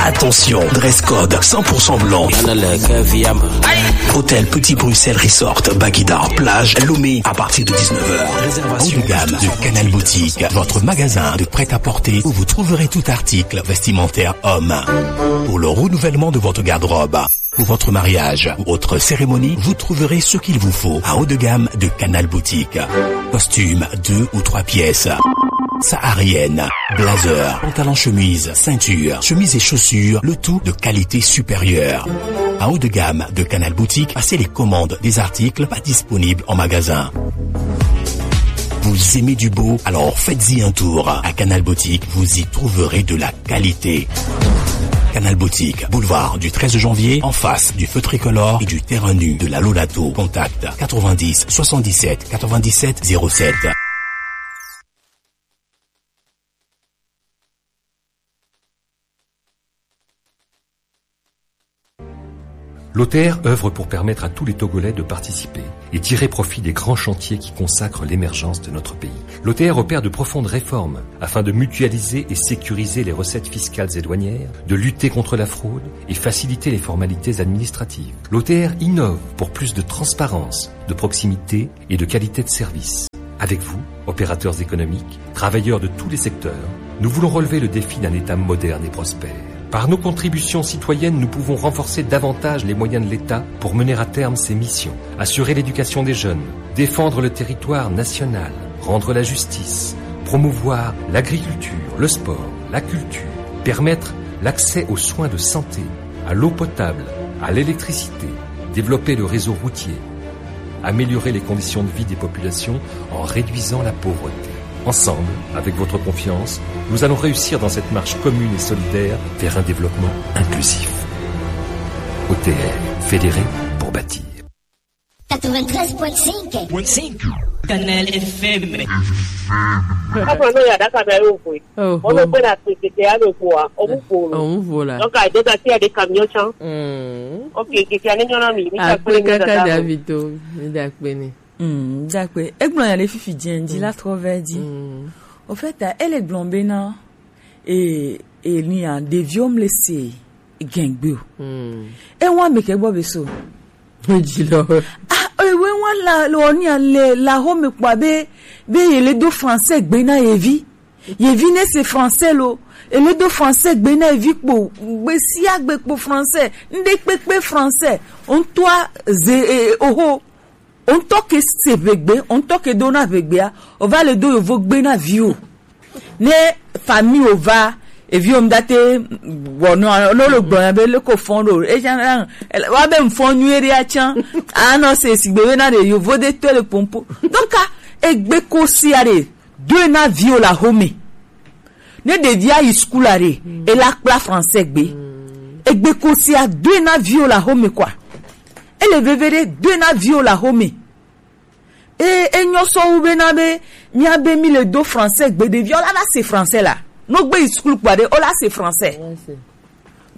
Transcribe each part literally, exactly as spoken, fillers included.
Attention, dress code cent pour cent blanc. Hôtel Petit Bruxelles Resort, Baguida, plage, Lomé, à partir de dix-neuf heures. Réservation. Haut de gamme de Canal Boutique, votre magasin de prêt-à-porter où vous trouverez tout article vestimentaire homme. Pour le renouvellement de votre garde-robe, pour votre mariage ou autre cérémonie, vous trouverez ce qu'il vous faut à haut de gamme de Canal Boutique. Costume deux ou trois pièces. Saharienne, blazer, pantalon chemise, ceinture, chemise et chaussures, le tout de qualité supérieure. À haut de gamme de Canal Boutique, passez les commandes des articles pas disponibles en magasin. Vous aimez du beau ? Alors faites-y un tour. À Canal Boutique, vous y trouverez de la qualité. Canal Boutique, boulevard du treize janvier, en face du feu tricolore et du terrain nu de la Lolato. Contact quatre-vingt-dix soixante-dix-sept quatre-vingt-dix-sept zéro sept. L'O T R œuvre pour permettre à tous les Togolais de participer et tirer profit des grands chantiers qui consacrent l'émergence de notre pays. L'O T R opère de profondes réformes afin de mutualiser et sécuriser les recettes fiscales et douanières, de lutter contre la fraude et faciliter les formalités administratives. L'O T R innove pour plus de transparence, de proximité et de qualité de service. Avec vous, opérateurs économiques, travailleurs de tous les secteurs, nous voulons relever le défi d'un État moderne et prospère. Par nos contributions citoyennes, nous pouvons renforcer davantage les moyens de l'État pour mener à terme ses missions, assurer l'éducation des jeunes, défendre le territoire national, rendre la justice, promouvoir l'agriculture, le sport, la culture, permettre l'accès aux soins de santé, à l'eau potable, à l'électricité, développer le réseau routier, améliorer les conditions de vie des populations en réduisant la pauvreté. Ensemble, avec votre confiance, nous allons réussir dans cette marche commune et solidaire vers un développement inclusif. O T R, fédérer pour bâtir. Quatre-vingt-treize point cinq. Canal F M. Aƒenɔ ya ɖaka bia yo koe. Oh, oh. Wole kpe na kpekpe ya le kua, omu ƒo lo. Omu ƒo la. Donc, I just see the camion chan. Mm. Okay, keke ya ne nyɔna mi, mi ta kpe ne dada. Akpe kaka David o, mi da kpe ne. Mm, dakpe. Egblɔ nya ɖe fifi dzi, dzi la trɔ vɛ dzi. Mm. Au fait, ele gblɔ bena, e, e ni a, ɖeviwo mle se gɛngbe o. Mm. E wa me ke gbɔ be so. Dzi lɔ. Ah, e we wa la, lo ni a le, la ho me kpɔ be, be ye le do français gbe na ye vi. Ye vi ne se français lo. E le do français gbe na ye vi kpo, gbe sia gbe kpo français. Nde kpekpe français. On toi, ze, e, oho. O ŋutɔ ke se ʋegbe, o ŋutɔ ke dona ʋegbea, o va le do yovo gbe na viwo. Ne famille o va, eviwo ŋda te wɔnɔ, ne wo le gblɔ nya be leke o fɔn ɖo, e nya na, wa be ŋfɔn nyuie ɖe atsã, anɔ se sigbe be na ɖe yovo ɖe tɔe le pompo. Donc, a, egbe ko sia ɖe, doe na viwo le axome. Ne ɖevia yi sukulu aɖe, mm, ela kpla français gbe. Mm. Egbe ko sia doe na viwo le axome kɔa. Ele veve ɖe doe na viwo le axome. E, enyɔ sɔ wu bena be, mía be mi le do français gbe ɖevia, wola va se français la. No gbe yi sukulu kpɔ aɖe, wola se français. Ouais, c'est.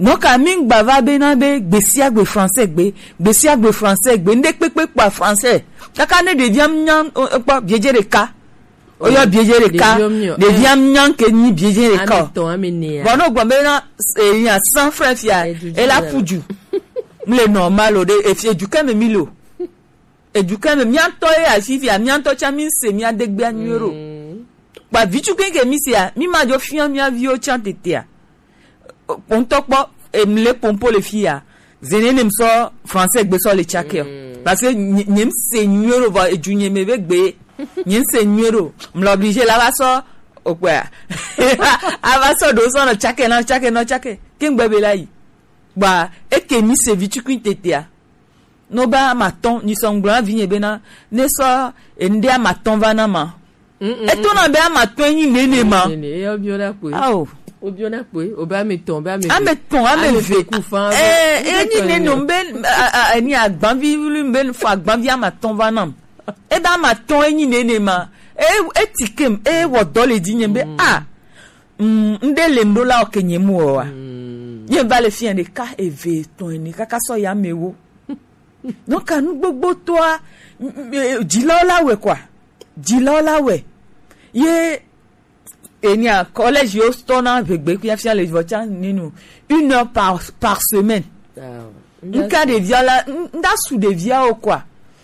Nɔka mi ŋgba va bena be gbe sia gbe français gbe, gbe sia gbe français gbe, ŋɖe kpekpe kpɔa français. Kaka ne ɖevia nya, o, o, kpɔ biedze ɖeka. Oyɔ biedze ɖeka. Ɖevia nya ke nyi biedze ɖeka. Ame etɔ̃, ame enea. Bon, no gbɔ bena, e, nya san franc fia, e la fu ju. Mle normal o ɖe, e fi edu ke me mi lo. Edu ke me mía ŋutɔ ye afi fia, mía ŋutɔ tsã mi se mía degbea nyuie ɖo. Mm. Kpa vi tukui ke mi sea, mi ma dzo fia mía viwo tsã tetea. Kpɔntɔ kpɔ, em le pompo le fia. Zene ne m sɔ français gbe sɔ le tsake o. Mm. Parce que nye, nye m se nyuie ɖo vɔ edu nye me be gbe. Nye m se nyuie ɖo. M le obligé la va sɔ, o kpɔa. A va sɔ ɖo sɔ nɔ tsake, nɔ tsake, nɔ tsake. Ke ŋgbe be la yi. Gba, eke mi se vi tukui tetea. No ba amatɔn, ni sɔ ŋgblɔ na vinye bena, ne sɔ ende amatɔn va na ma. Mm, mm, etona be amatɔn enyi nene ma. Nene, e obiona kwe. Ao. Obiona kwe, o ba ametɔn, ba ame eve. Ametɔn, ame eve. Kufa, eh, enyi nene o, mbe, a, a, a, ni agbanvi, mbe fɔ agbanvi amatɔn va nam. E ba amatɔn enyi nene ma. E, e ti kem, e wɔ dɔ le dzi nye be, mm, a. Mm, ŋɖe le ŋɖo la oke nye mu oa. Mm. Nye va le fia ɖeka, eve, etɔ̃, ene, kaka sɔ ya me wo. Donc, nu gbogbo toa, m-, m-, e, dzilawo la wɔe kɔa. Dzilawo la wɔe. Ye, Enia collège yo tɔ na ʋegbe fiafia le vɔ tsa ninu une heure par, par semaine. Nka ɖevia la, nda su ɖevia o quoi.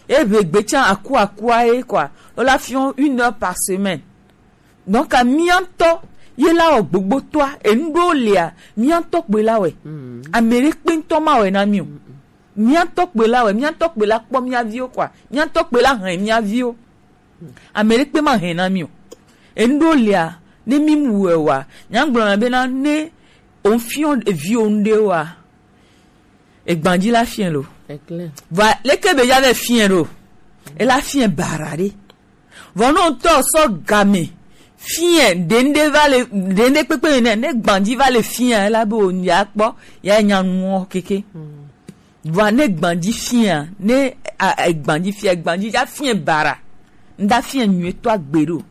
E ʋegbe tsa aku akua ye quoi. O la fiɔ une heure par semaine. Donc a miantɔ ye la o gbogbo toa, enu ɖo lea, miantɔ kpe la wɛ. Ame ɖe kpe ŋtɔ ma wɛ na mi o. Miantɔ kpe la wɛ, miantɔ kpe la kpɔ mia viwo quoi. Miantɔ kpe la hɛn mia viwo. Ame ɖekpe ma hɛn na mi o. Enu ɖo lea, ne mi mu wɛ wa, nya gblɔ na bena ne o fiɔ eviwo ŋɖe wa, egbanji la fiɛ lo. Vɔ leke be ya vɛ fiɛ ɖo? E la fiɛ bara ɖe. Vɔ no ŋtɔ sɔ game fiɛ ɖe ŋɖe va le, ɖe ŋɖe kpekpe nɛ, ne gbanji va le fiɛ, e la be o ya kpɔ, ya nya nuɔ keke. Vɔa ne gbanji fia, ne a, a, gbanji fia, gbanji ja fia bara. Nda fia nyuie to agbe ɖo.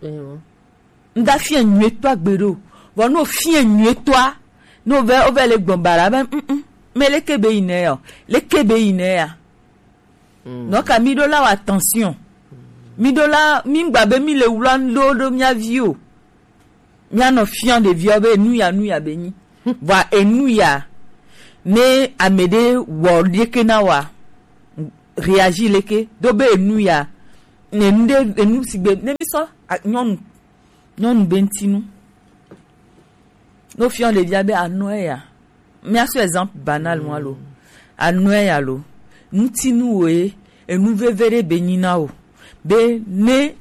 Nda fia nyuie to agbe ɖo. Vɔ no fia nyuie toa, no vɛ, o vɛ le gbɔn bara be, mm, mm, me leke be yi nɛ ya o. Leke be yi nɛ ya. Donc a mi ɖo la wa attention. Mi ɖo la, mi gba be mi le wla ɖo ɖo mia vi o. Mia nɔ fia ɖeviwo be enu ya, nu ya be nyi. Vɔa enu ya, ne ame ɖe wɔ ɖeke na wa, réagir leke, do be enu ya, ne enu ɖe, enu sigbe, ne mi sɔ, a, nyɔnu, nyɔnu be ŋtinu. No fia ɖevia be anɔ ya. Mia sɔ exemple banal mo alo. Anɔ ya lo. Ŋtinu wo ye, enu veve ɖe be nyi na o. Be ne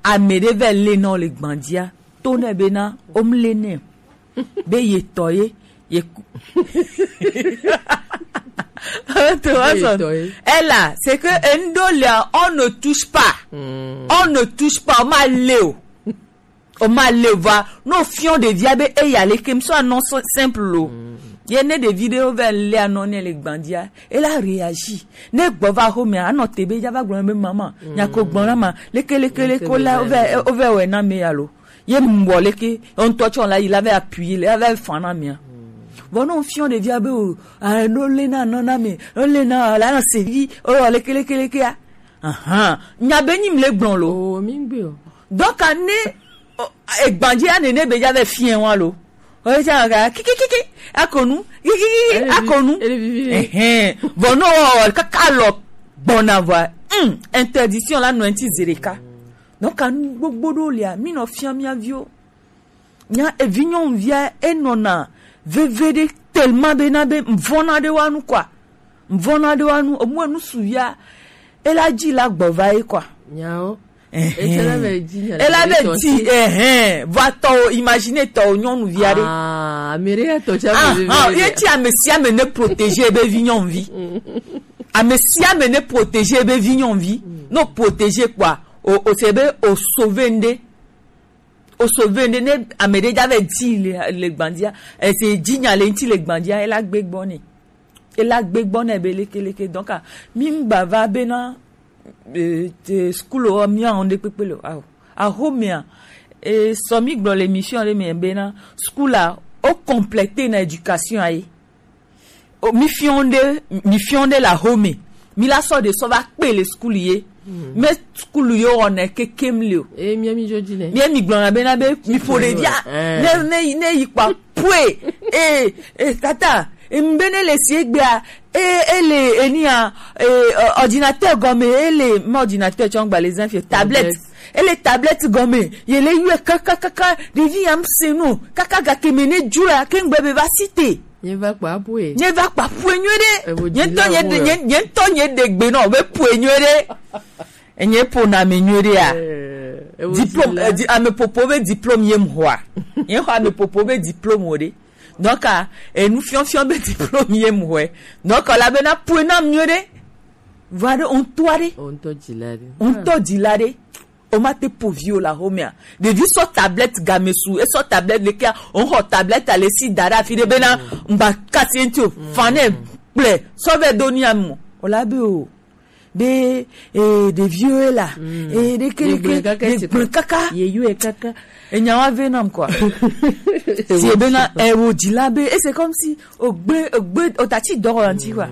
ame ɖe vɛ le na o le gbanjia, to nɛ be na o mu le nɛ. Be ye tɔ ye, ye ku. To wa sɔ. Ela, c'est que endo le, on ne touche pas. On ne touche pas, o ma le o. O ma le va, no fiɔ ɖevia be eya leke, mi sɔ anɔ simple lo. Ye ne ɖevi ɖe o vɛ le anɔ ne le gbanjia, e la réagir. Ne gbɔ va xo me, anɔ te be ja va gblɔ be maman, nya ko gbɔ na ma, leke, leke, leke, o la, o vɛ, o vɛ wɛ na me ya lo. Ye mu wɔ leke, o ŋtɔ tsɔ la yi la vɛ appuyer, la vɛ fan na mia. Vɔ no fiɔ ɖevia be o, a, no le na nɔ na me, no le na, la na se vi, o leke, leke, leke a. Ahan, nya be nyi mi le gblɔ lo. O, mi gbe o. Donc a ne, o, egbanji ya nene be ja vɛ fiɛ wa lo. O ja ga kiki kiki akonu, kiki kiki akonu. Ele vivi. Ehɛn. Vɔ no o kaka lɔ gbɔna vɔ. Hmm, interdiction la nɔ enti zereka. Donc a nu gbogbo ɖo lia, mi nɔ fia mia viwo. Nya evi nyɔnuvia enɔna veve ɖe tellement be na be mvɔna ɖe wa nu quoi. Mvɔna ɖe wa nu, omu enu suvia, ela ji la gbɔ va ye quoi. Nyawo. Etsɛ la be ji nya. Ela be ji, ehɛn. Vɔ tɔ o, imagine tɔ o nyɔnuvia ɖe. Ah, ame ɖe ya tɔ tsa veve. Ah, ye ti ame sia ame ne protéger ebe vi nyɔnuvi. Ame sia ame ne protéger ebe vi nyɔnuvi. No protéger quoi. O, o se be o sauver nde. O sauver nde ne ame ɖe ja vɛ di le, le gbandia. Ese ji nya le ŋti le gbandia, ela gbe gbɔ ne. Ela gbe gbɔ ne be leke leke. Donc, a, mi ŋgba va be na, e, te school o, mi a ŋde kpekpe le o. Aho. Aho mea, e, sɔ mi gblɔ le émission ɖe me be na school a, o compléter na éducation a ye. O, mi fiɔ ɖe, mi fiɔ ɖe la home. Mi la sɔ ɖe sɔ va kpe le school ye. Me school yo wɔnɛ kekem le o. E, mi mi jo ji ne. Mi mi gblɔ na be na be mi ƒo ɖevia. Ne, ne, ne yi kpa pue. E, e, tata, e, mbe ne le si egbea, e, ele, enia, e, ordinateur gɔme, ele, ma ordinateur tsɔ gba le zan fie, tablette. Ele tablette gɔme, ye le yue kaka, kaka, ɖevi ya ŋse no, kaka gake me ne dzro ya, ke ŋgbe be va si te. Nye va kpa pue. Nye va kpa pue nyuie ɖe. Nye ŋtɔ nye ɖe, nye, nye ŋtɔ nye ɖe gbe nɔ be pue nyuie ɖe. Enye ƒo na me nyuie ɖe ya. Diplôme, eh, di, ame popo be diplôme ye ŋxɔa. Nye xɔ ame popo be diplôme o ɖe. Donc, a, enu fiɔfiɔ be diplôme ye ŋxɔe. Donc, la be na pue na nyuie ɖe. Va ɖe, o ŋtɔ ɖe. O ŋtɔ dzila ɖe. O ŋtɔ dzila ɖe. O ma te ƒo vi o la home a. Ɖevi sɔ tablette game su, e sɔ tablette le kea, o xɔ tablette a le si da ɖe afi ɖe be na ŋgba kasi ŋti o. Fan ne kple sɔ vɛ do ni amo. O la be o. Be, e, ɖeviwo la. E, ɖeke, ɖeke, ɖe gblẽ kaka. Ye yue kaka. Enya wa ve nam quoi. Si e be na, e, o dzila be, e c'est comme si o gbe, o gbe, o tati dɔ o anti quoi.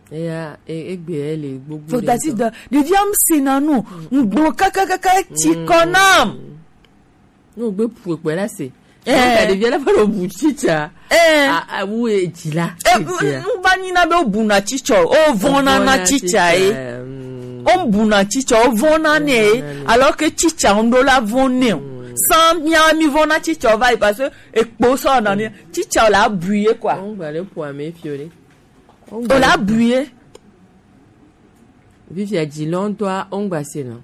Eya, e, egbe ele gbogbo. Fo ɖe tati ŋutɔ. Da ɖevia ŋse na nu, ŋgblɔ kakakaka ti kɔ nam. Ne wogbe ƒu ekpɔe la se. Eh. Ka ɖevia la va ɖo bu tsitsa. Eh. A, a, wu e dzi la. Eh, tsitsa. M-, m-, va nyi na be wobuna tsitsa o. Wovɔna na tsitsa ye. Mm. Wobuna tsitsa, wovɔna nɛ ye. Wovɔna nɛ. Alors que tsitsa ŋɖo la vɔn nɛ o. Mm. Sans mia mi vɔna tsitsa o va yi parce que ekpo sɔ na ni. Tsitsa o la bu ye quoi. Wongba le ƒua me fio ɖe. O la bu ye. Fifia dzi lɔ ŋutɔa, wongba se nɔ.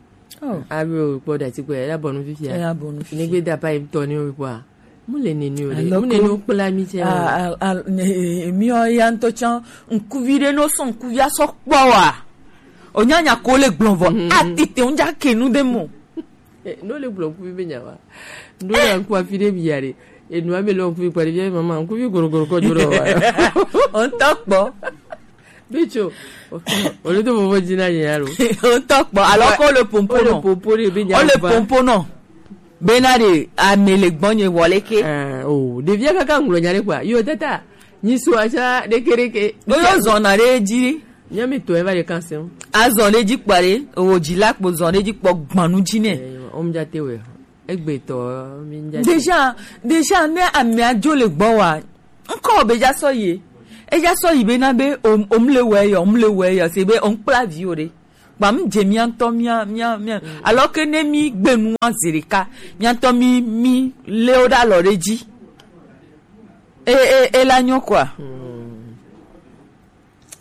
Oh. Alo kpɔ ɖe atikpɛ, ela bɔnu fifia. Ela bɔnu fifia. Ne gbe da pa yi tɔ ni o kpɔa. Mu le nene o le. Alors mu nene o kpla mi tsɛ. A, a, a, ne, e, mi o ya ŋutɔ tsã, ŋkuvi ɖe no sɔ ŋkuvi asɔ kpɔ wa. O nya nya ko le gblɔ vɔ. Mhm. A tete ŋdza ke nu ɖe mo. Eh, no le gblɔ ŋkuvi be nya wa. No le ŋku afi ɖe bia ɖe. Enu ame le ŋkuvi kpa ɖe bia mama, ŋkuvi gorogoro kɔ dzo ɖe wa. O ŋutɔ kpɔ. Bitso, o le to vovo dzi na nye alo. O ŋutɔ kpɔ, alors que o le pompo nɔ. O le pompo ɖe be nya va. O le pompo nɔ. Bena ɖe ame le gbɔnye wɔ leke. Eh, o, ɖevia kaka ŋgblɔ nya ɖe kpɔa. Yo tata, nyi so atsã ɖekeɖeke. O yo zɔna ɖe dzi. Nya mi tɔ eva ɖe kan se o. Azɔ ɖe dzi kpɔ ɖe, o dzi la kpo zɔ ɖe dzi kpɔ gbanu dzi nɛ. Eh, o mi dza te wɛ. Egbetɔ, mi ŋdza. Déjà, déjà, ne amea dzo le gbɔ wa, ŋkɔ be dza sɔ yi. Edza sɔ yi bena be, o, o mu le wɛ yɔ, o mu le wɛ yɔ, se be, o ŋkpla vi o ɖe. Kpa mu dze mia ŋutɔ mia, mia, mia. Mm. Alors que ne mi gbe nua zi ɖeka, mia ŋutɔ mi, mi le wo ɖe alɔ ɖe dzi. E, e, e la nyɔ quoi. Mm.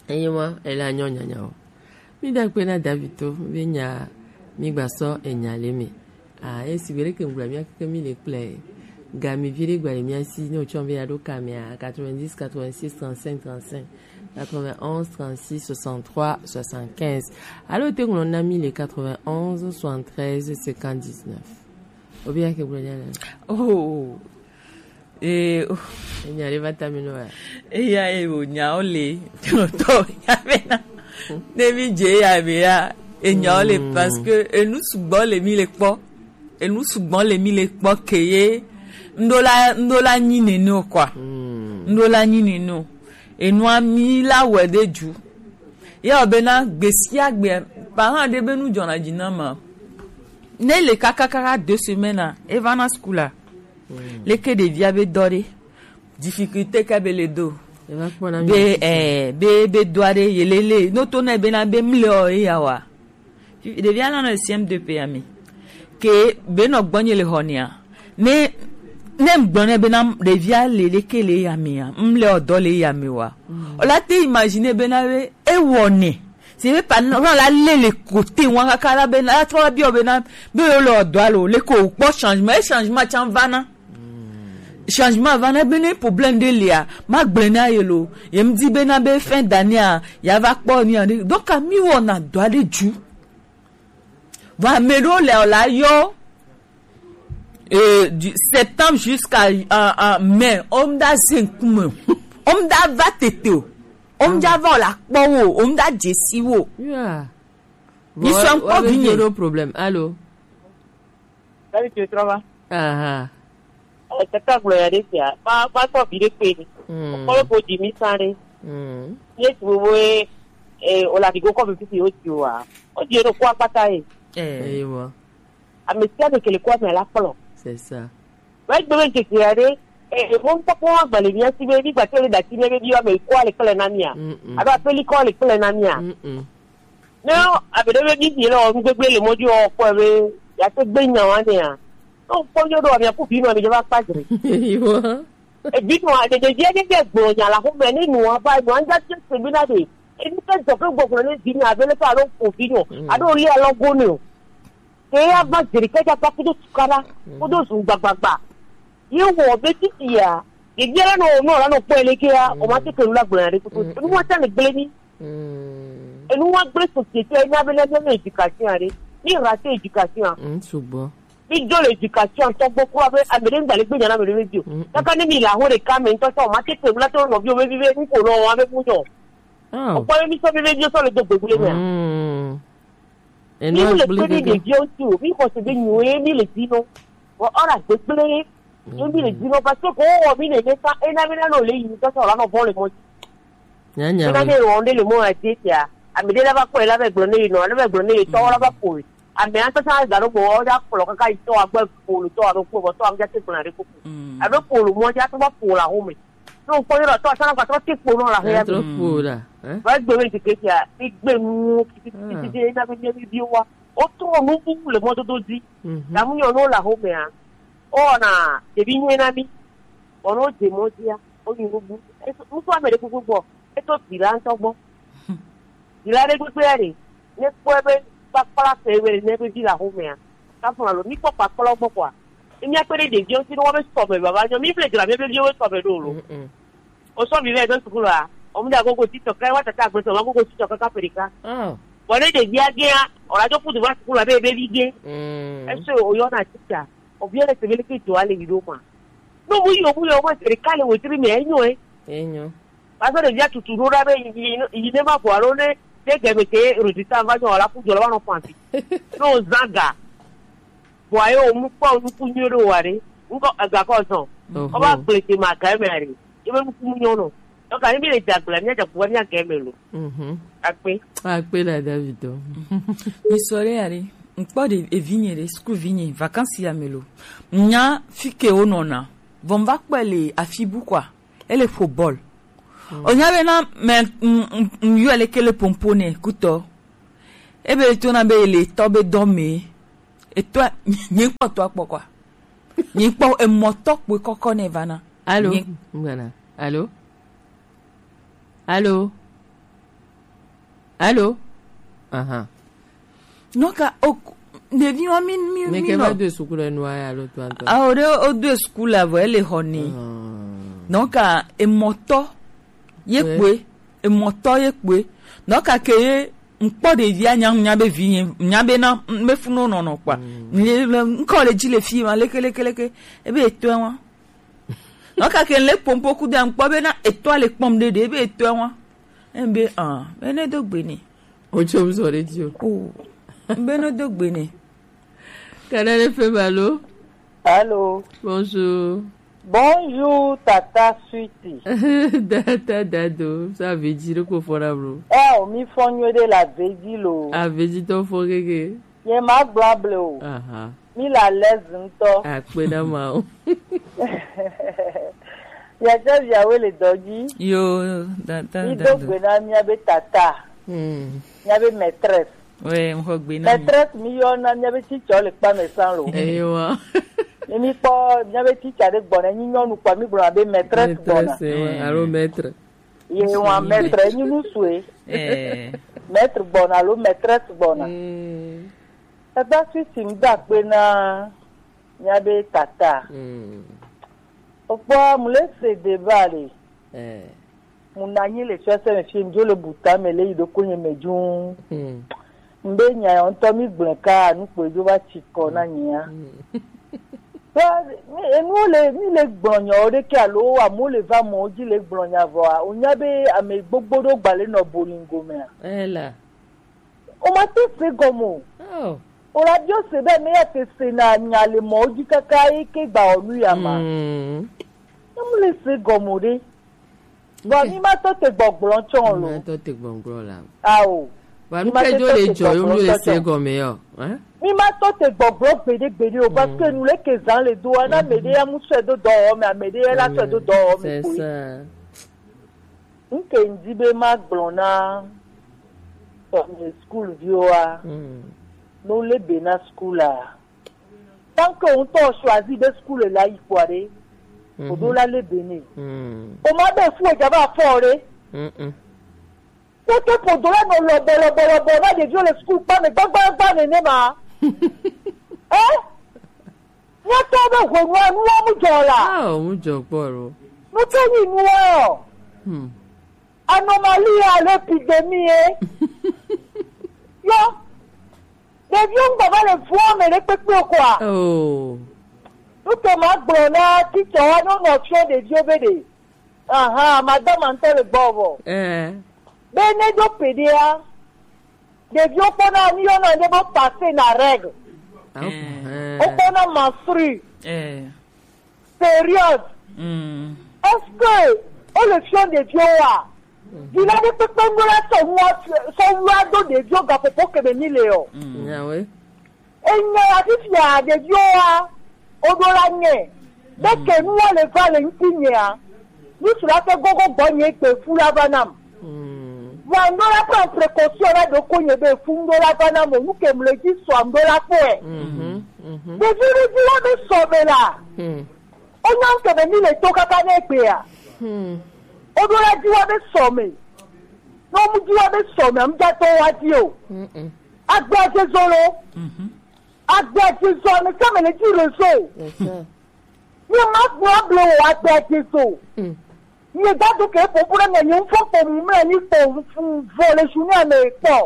Eye ma, ela nyɔ nyanyawo. Mi da kpe na Davito be nya mi gba sɔ enya le me. Ah, esi be ɖeke ŋgblɔ mia keke mi le kple ga mi vi ɖe gba le mia si ne wotsɔ be ya ɖo ka mea, quatre-vingt-dix, quatre-vingt-six, trente-cinq, trente-cinq, quatre-vingt-onze, trente-six, soixante-trois, soixante-quinze. Alo te ŋlɔ na mi le quatre-vingt-onze, soixante-treize, cinquante-dix-neuf. Obi ya ke gblɔ nya le. Oh. Ee, o. Enya ɖe va ta mi nɔ ya. Eya ye wònya wo le tɔ ya bena. Ne mi dze ya be ya, enya wo le. Mm. Parce que enu sugbɔ le mi le kpɔ. Enu sugbɔ le mi le kpɔ ke ye. Ŋɖo la, ŋɖo la nyi nene o quoi. Mm. Ŋɖo la nyi nene o. Enua mi la wɛ ɖe dzu. Ye wɔ bena gbe sia gbe, parent ɖe be nu dzɔna dzi na ma. Ne le kakakaka deux semaines a, eva na school a. Mm. Leke ɖevia be dɔ ɖe, difficulté ke be le do. Eva kpɔna mi be, eh, be, be dɔa ɖe, yelele. No to na bena be mle o eya wa. Ɖevia la nɔ le C M deux P ya me. Ke be nɔ gbɔnye le xɔ nea. Ne, ne ŋgblɔ nɛ bena ɖevia le leke le ya mea, mle o dɔ le ya me wa. Mm. O la te imaginer bena be, ewɔ nɛ. C'est vrai, par exemple, la le le côté, wa kaka la bena, la trɔ la biɔ bena, be yo le o dɔ alo, le ko kpɔ changement, e changement tsan va na. Changement va na be ne problème ɖe lia, ma gblɔe na ye lo. Ye mi di bena be fin d'année a, ya va kpɔ ni a ɖe. Donc, a mi wɔna dɔ aɖe dzu. Va ame ɖewo le o la yɔ, euh, du septembre jusqu'à, euh, euh, mai, o mu da ze ŋkume. O mu da va tete o. O mu da va o la kpɔ wo, o mu da dze si wo. Yeah. Ni sɔ ŋkpɔ vi nye. Ɖo problème. Allô? Salut, tu es, ça va? Aha. Eh, tata gblɔ ya ɖe sia. Ma, ma tɔ vi ɖe kpe ni. Mm. Kɔlɔ ko di mi sa ɖe. Mm. Ye tu wo e, eh, o la di go kɔ mi fisi o ti wa. O di e ɖo ko akpata ye. Eh. Ewa. Ame sia ame ke le ko ame la kplɔ. C'est ça. Wa gbe be ŋkeke ya ɖe, eh, mo ŋkpɔkpɔ wa gba le mia si be, mi gba te le da ti mia be bi wa me ko le kple na mia. Mm-mm. Aba peli ko le kple na mia. Mm-mm. Ne abe ɖe be bibi le wɔ nu gbegble le mɔ dzi wɔ kpɔe be yeate gbe nya wa nea. Ne wokpɔ nyɔ ɖo amia ku vi nɔ mi dze va kpa dzre. Evi nɔ aɖe ɖevia ɖe ɖe gblɔ nya la xɔme ne nua va nua ŋdza tse se bi na ɖe. Ebi ke dzɔ ke gbɔgblɔ ne vi nɔ abe le fa alo ƒo vi nɔ alo li alɔgo ne o. Ke ya va dzre ke dza kpa kudo tukaɖa kudo zu gbagbagba. Ye wɔ be titi ya, ɖevia la nɔ nɔ la nɔ kpɔe le ke ya, o ma te ke nu la gblɔ ya ɖe kudo. Enu wa tsa le gble ni. Mm. Enu wa gblẽ société ena be ne míanɔ éducation aɖe. Mi rate éducation. Mm, sugbɔ. Mi do le éducation tɔgbo kura be ame ɖe ŋgba le gbe nya na ame ɖe be bio. Mm, mm. Kaka ne mi le aho ɖeka me ŋutɔ sɔ, ma te te ŋu la to nɔviwo be bi be ŋko nɔ wa be ŋu nyɔ. Oh. Ɔkpɔ be mi sɔ be be bio sɔ le do gbegble mea. Mm. Mi le kpe ɖe ɖeviwo ŋuti o, mi xɔ se be nyuie mi le dzi nɔ. Vɔ ɔra gbegble ye. Ye mi le dzi nɔ parce que ko wɔ mi nene fa ena mi na nɔ le yi mi tɔtɔ la nɔ vɔ le mɔ dzi. Nyanya. Ena mi wɔ nde le mɔ ya dzi tia. Ame ɖe la va kpɔe la va gblɔ ne yi nɔ, la va gblɔ ne yi tɔwo la va kpɔe. Ame atɔ sa ga ɖo gbɔ, wo ja kplɔ kaka yi tɔ agbe polo tɔ alo kpo bɔ tɔ ame ja te kplɔ ɖe koko. Mm. Alo polo mɔ ja tɔ ba polo la home. No kpɔ yɔrɔ tɔ sa na gba tɔ te kpo nɔ la home. Tɔ kpo la, eh? Ba gbe me tike tia, igbe nu titi titi na be mi bi wa. O tɔ nu bu le mɔ dodo di. Mhm. Na mu nyɔ no la home a. O na ebi nyɛ na mi. O no de mɔ dia. O nyi nu bu. E so, nu so ame ɖe koko gbɔ. Eto vi la ŋutɔ gbɔ. Vi la ɖe gbegbe ya ɖe, ne kpɔe be kpakpla sɛ wɛ ne be vi la xomea, kafu alo mi kpɔ kpakpla gbɔ kɔa, ne mía kpe ɖe ɖeviwo ŋuti ne wobe sɔme baba nyɔ, mi ble dzra míabe viwo be sɔme ɖo lo. Mm-mm. O sɔ vi vɛ do sukulu a, o mu da gogo titɔ ka wa tata agbe sɔ ma gogo titɔ ka ka perika. Oh. Bɔ ne ɖevia gea, o la dzo kudu va sukulu abe ebe vi ge. Mm. Ese o yɔ na titsa, o vi le sebe le ke dzo ale yi ɖo ma. No mu yi o mu yɔ o ma sere ka le wetri me enyo e. Enyo. Parce que ɖevia tutu ɖo ɖa be yi, yi, yi ne ma ƒo alo ne, ne gɛme ke résultat va nyɔ la ku jɔ la va nɔ fɔ asi. Ne o zã ga. Vɔa ye o mu kpɔ nuku nyuie ɖo wa ɖe. Ŋkɔ ega kɔ zɔn. Oho. Ɔba gble te ma ga me ɖe. Ye be nuku mu nyɔ nɔ. Donc ani mi le dza gble, mi dza gble mi ga me lo. Mhm. Akpe. Akpe la David. Mi sɔre ya ɖe. Ŋkpɔ ɖe evi nye ɖe, school vi nye, vacances ya me lo. Nya fike o nɔna. Vɔ va kpɛ le afi bu quoi. Ele ƒo bɔl. Mm. O nya be na me, m, m, m, yɔ le kele pompo ne kutɔ. Ebe to na be le tɔ be dɔ me. Etɔ, nye kpɔ tɔ kpɔ quoi. Nye kpɔ emɔtɔ kpɔ kɔkɔ ne vana. Allô? Nye- Voilà. Allô? Allô? Allô? Aha. Donc, o, ɖevi wa mi, mi, mi ke va do sukulu nu aya lo to anto. Ah, o de, o do sukulu avo, ele honi. Ah. Donc, emɔtɔ, ye kpe, emɔtɔ ye kpe. Donc, ke ye, ŋkpɔ ɖevia nya, nya be vi nye, nya be na, me fu no nɔnɔ kpa. Mm. Le, le, ŋkɔ le dzi le fi ma, leke, leke, leke. Ebe etɔe wa. Donc, ke le pompo ku de ŋkpɔ be na etɔ le kpɔm ɖe ɖe, ebe etɔe wa. Ebe, ah, ene do gbe ne. O tso mi sɔ ɖe dzi o. Oh, be no do gbe ne. Canal F M, allô? Allô? Bonjour. Bonjour, Tata Sweetie. Tata Dado, ça veut dire quoi, fora, bro? Eh, o mi fɔ nyuie ɖe la veut dire lo. A veut dire ton fort, kéké. Ye ma gblɔ ble o. Aha. Mi la lez ŋutɔ. Akpe na ma o. Yadza viawe le dɔ dzi. Yo, da, da, Mi da, do do. Gbe na mia be tata. Hmm. Mia be maîtresse. Ouais, ŋxɔ gbe na mi. Maîtresse mi yɔ na mia be teacher le kpa me san lo. Eyo wa. Ne mi kpɔ mia be teacher ɖe gbɔna, nyi nyɔnu kpɔ mi gblɔna be maîtresse gbɔna. Maîtresse, ouais, alo maître. Ye wa maître nyi nu sue. Eh. Maître gbɔna alo maîtresse gbɔna. Hmm. Tata Sweetie, mi do akpe na mia be tata. Mm. Okpɔ mu le se débat le. Eh. Mu na anyi le fiase me fi mi dzo le buta me le yi ɖoko nye me dzuu. Mm. Mbe nya ya ŋutɔ mi gblẽ ka nu kpoe dzo va tsi kɔ na nyia. Mm. Ba, mi, enuwo le, mi le gblɔ nyawo ɖe ke alo amewo le va mɔ dzi le gblɔ nya vɔa, wonya be ame gbogbo ɖo gba le nɔ bolingo mea. Eh la. O ma te se gɔme o. Oh. O la biɔ se be me ya te se na nya le mɔ dzi kaka yi ke gba o nu ya ma. Mm. Ne mu le se gɔme o ɖe. Vɔ mi ma tɔ te gbɔgblɔ tsɔ lo. Ma tɔ te gbɔgblɔ la. Ao. Wa nu ke dzo le dzɔ yo mu le se gɔme yo. Hein? Mi ma tɔ te gbɔgblɔ gbeɖe gbeɖe o, parce que nu le ke zan le do wa na me ɖe ya mu sɛ do dɔwɔ me, ame ɖe ya la sɛ do dɔwɔ me. C'est ko. Ça. Nke ŋdi be magblɔ na sɔmi school viwoa, mm, no le be na school a. Tant que ŋutɔ choisi be school la yi kpɔa ɖe, mm, o do la le be ne. Mm. O ma be fu e dza va fɔ ɖe. Mm-mm. Tete ƒo do la nɔ lɔbɔ lɔbɔ lɔbɔ na ɖeviwo le school kpa me gbagbagba nene ma. Eh? Míatɔ be hwenua nuwo mu dzɔ la. Ah, mu dzɔ kpɔ lo. Nu ke nyi nuwo? Hmm. Anomalie alo épidémie. Yo. Ɖeviwo ŋgba va le vua me ɖe kpekpe o kɔa. Oh. Nu ke ma gblɔ na teacher wa ne wonɔ fiɔ ɖeviwo be ɖe. Aha, madame ŋutɔ le gbɔ vɔ. Eh. Be ne do peɖea, ɖeviwo kpɔna nu yɔna ɖe be passer na règle. Ah, eh. Wokpɔna menstru. Eh. Période. Mm. Est-ce que wole fiɔ ɖeviwo wa? Vi la ɖe kpekpe ŋu la sɔ nua, sɔ wua do ɖeviwo gaƒoƒo ke me mi le o. Mm. Nyawe. Enye ya fifia ɖeviwo wa, woɖo la nye. Ɖeke nuwo le va le ŋutinyea. Ŋutsu la ke gogo gbɔ nye gbe fu la va nam. Vɔa ŋɖo la prend précaution la ɖoko nye be fu ŋɖo la va nam o, nu ke mle dzi sɔ ŋɖo la kpɔe. Ɖevi ɖevi la be sɔ be la. Wonya ŋke be mi le to kaka ne egbea. Woɖo la dzi wa be sɔ me. Ne wo mu dzi wa be sɔ me, amudzatɔ wa dzi o. Agbea dze zo lo. Agbea dze zo, ame sia ame le dzi rezo. Nye ma gblɔ able o, agbea dze zo. Nye dadu ke ƒoƒu ɖe me, nye ŋfɔ kpɔ mu mla nyi kpɔ fu vɔ le journée me kpɔ.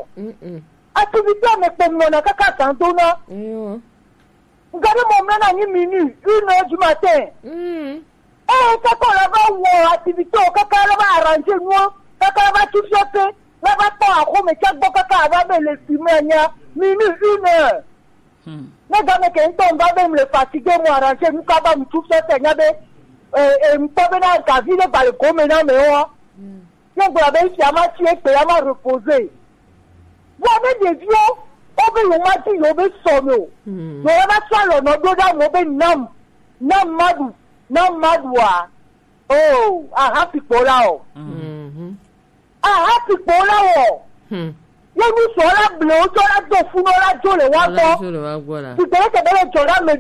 Activité me kpɔ nɔna kaka gan dona. Ŋga ɖe mɔ mla na nyi minuit, une heure du matin. Eye kaka la va wɔ activité o, kaka la va arranger nuwo, kaka la va tu fiɔte, la va tɔ axome tsa gbɔ kaka ava be le si me nya, minuit, une heure. Ne game ke ŋutɔ ŋva be mle fatigué mu arranger nu kaba mu tu fiɔte nya be, eh, eh, ŋutɔ be na gavi ne gba le gome na me wa. Ye gblɔ be fia ma tsi egbe ya ma reposer. Vɔ ne ɖeviwo wobe yewo ma di yewo be sɔ me o. Yewo ya va sɔ alɔ nɔ ɖo ɖe amewo be nam, nam ma ɖu, nam ma ɖua. Oh, aha fi kpo la o. Aha fi kpo la o. Ye nu sɔ la ble wo tsɔ la do fu nɔ la dzo le wa gbɔ. Ti gbele ke be le dzɔ la me